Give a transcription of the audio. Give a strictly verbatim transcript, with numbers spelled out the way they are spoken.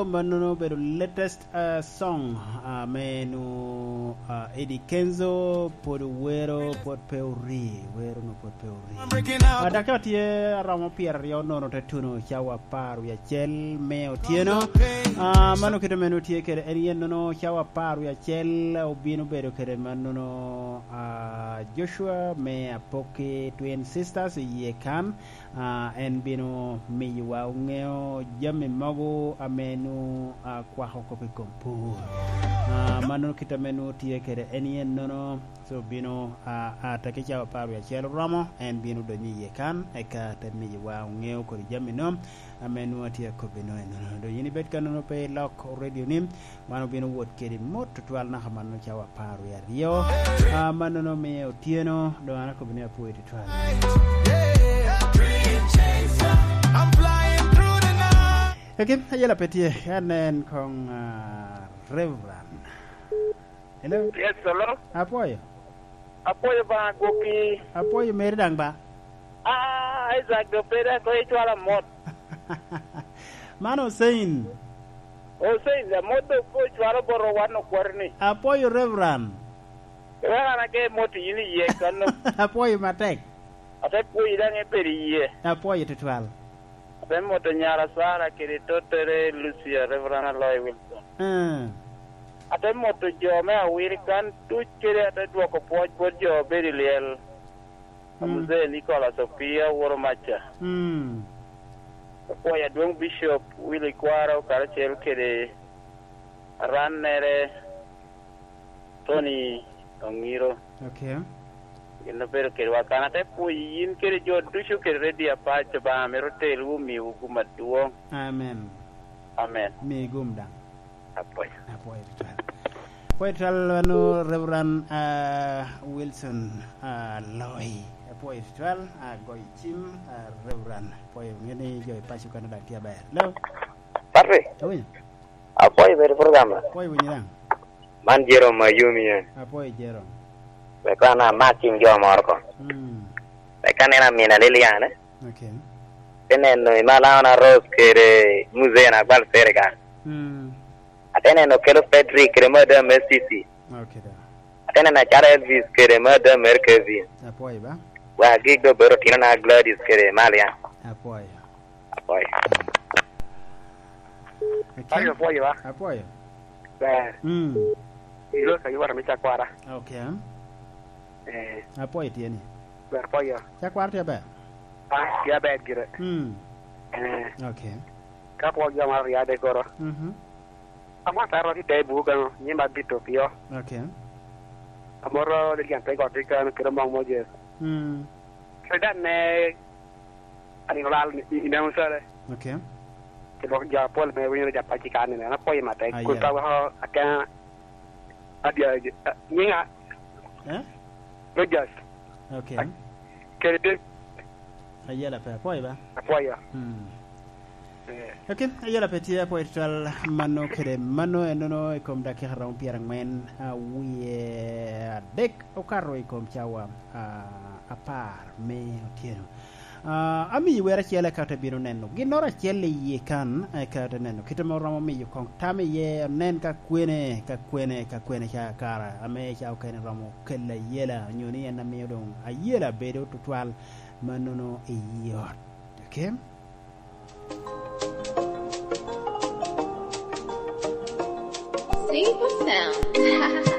Mannono obedo latest, ah, song, ah, ame nu, ah, Eddie Kenzo pwod owero, pwod pe ori, wero nu pwod pe ori. Ah, dakika tye aromo pyeraryo nono te tuno cawa apar wie acel me otyeno. Ah, mano kite ame nu tye kede en yen nono cawa apar wie acel obino bedo kede mannono, ah, Joshua me Apoki Twin Sisters i yie kan. Ah, en bino miyowa oŋeo jami mogo ame nu, ah, kwako kop i kom pur. Ah, mannono kit ame nu tye kede en yen nono, so bino, ah, ah, ataki cawa apar wie acel oromo, en bino donyo i yie kan, eka te miyowa oŋeo kodi jami no ame nu atye akobbi no enono. Doŋ yin ibed ka nono pe ilok radio ni, wan obino wot kede mot tutwal naka mannono cawa apar wie aryo. Ah, mannono miyo otyeno, doŋ an akobbi ni apwoyo tutwal. Kaki, ayela pe tye, en en koŋ, ah, Reverend. Hello? Yes, hello? Apwoyo. Apwoyo ba gwokki. Apwoyo meri daŋ ba. Ah, Isaac do pede ko icwala mot. Man Hussein. Hussein, amot do ko icwalo boro wan okwari ni. Apwoyo Reverend. Reverend ake mot yin iye kano. Apwoyo matek. Ate pwoyi daŋ ibedo iye. Apwoyo tutwal. Ate moto nyara Sara kede tottere Lucia, Reverend Aloy Wilson. Mm. Ate moto jo me awil kan duc kede ate dwoko pwoc bot jo obedo i lyel. Mm. Muzee Nicholas Opia, Woro Maca. Mm. Apwoyo adwoŋ Bishop Willy Kwaro karacel kede arannere Tony Oŋiro. Okay. Gin obedo kedwa kan, ate pwoyi yin kede jo ducu kede redio apac, Obaŋa mito telowu, omiwu gum adwoŋ. Amen. Amen. Mi gum daŋ. Apwoyo. Apwoyo tutwal. Apwoyo tutwal, wano Reverend, ah, Wilson, ah, Loy. Apwoyo tutwal, ah, goyo cim, ah, Reverend. Apwoyo, ŋe ni jo i paco kan daŋ tye aber. Hello? Patrick. Awinyo? Apwoyo bedo program. Apwoyo winyo daŋ. Man Jerome Ayumi en. Apwoyo Jerome. Wek an amak cim jo moro ko. Mm. Wek aneno Amina Liliane. Okay. Te neno Imalaona Rose kede Muzee Nagwal Serika. Mm. Ate neno Kelo Frederick kede Madam S C C. Okay, da. Ate neno Acalo Elvis kede Madam Mary Kevin. Apwoyo ba. Wa gik do bedo tino na Gladys kede Malia. Apwoyo. Apwoyo. Akin? Ayo, apwoyo, wa. Apwoyo. Ber. Mm. Ilo ka yuwara me cakwara. Okay. Eh. Apwoyo tye ni. Ber apwoyo. Cakwara tye aber? Ah, tye aber gire. Mm. Eh. Okay. Ka apwoyo jo maro riade koro. Mhm. Amwata aro ki te buga no, nyima bito pio. Okay. Amoro de gyan te goti kan kero mong moje. Mm. Kere dan ne Ani olal i, i neno sare. Okay. Ke dok jo apol me winyo ja paci kan ni, an apwoyo matek. Ah, yeah. Kun ka weko aken adia, ah, nyinga. Eh? Rogers. Okay. Kede David. Ayela pe, apwoyo ba? Apwoyo. Hmm. Eh. Okay, ayela pe tye, apwoyo tutwal. Mano kede mano enono i kom dakika romo pyerangwen, ah, wie adek okato i kom cawa, ah, apar me otyeno. Ah, amiyi wer acel eka te bino neno ginnoro acel i yie kan, eka te neno kit ame oromo miyo koŋ tam iye, onen ka kwene, ka kwene, ka kwene ca kara ame ca okene romo kelo ayela, onyo ni en amiyo doŋ ayela bedo tutwal mannono i yie ot. Okay? Simple sound.